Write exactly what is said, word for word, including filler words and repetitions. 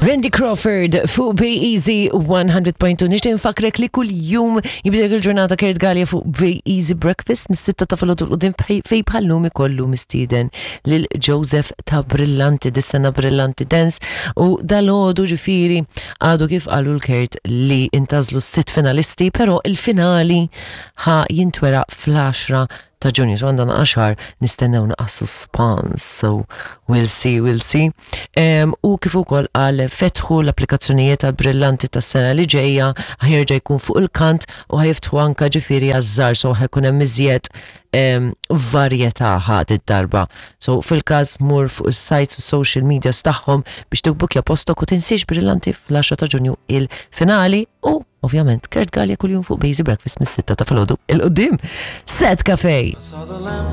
Randy Crawford fuq Be Easy one hundred point two. Nixtieq nfakrek li kull jum jibdek il-ġurnata Kurt Galea fuq Be Easy Breakfast mis-sitta ta' filgħodu 'l quddiem, fejn bħal-lum ikollu mistieden lil Joseph ta' Brillanti, dis-sena Brillanti Dance, u dalgħodu ġifieri għadu kif qalu lil Kurt li intgħażlu sitt finalisti, pero il-finali ħa jintwera fl-għaxra ta' Ġunju, so għandna għaxar nistennew naqra suspense, so we'll see, we'll see. Um, u kif ukoll qal, fetħu l-applikazzjonijiet għal Brillanti tas-sena li ġejja, ħa jerġa' jkun fuq il-kant u ħa jiftħu anka ġifieri għaż-żgħar, so ħa jkun hemm iżjed um, varjetà ħad id-darba. So fil-każ mur fuq is-sites u social media tagħhom biex tibbukja postok u tinsiex, Brillanti fl-għaxra ta' Ġunju il-finali u ovvjament Kurt Galea kuljum fuq Be Easy Breakfast mis-sitta ta' filgħodu 'l quddiem. Set Cafe. Saw the lamp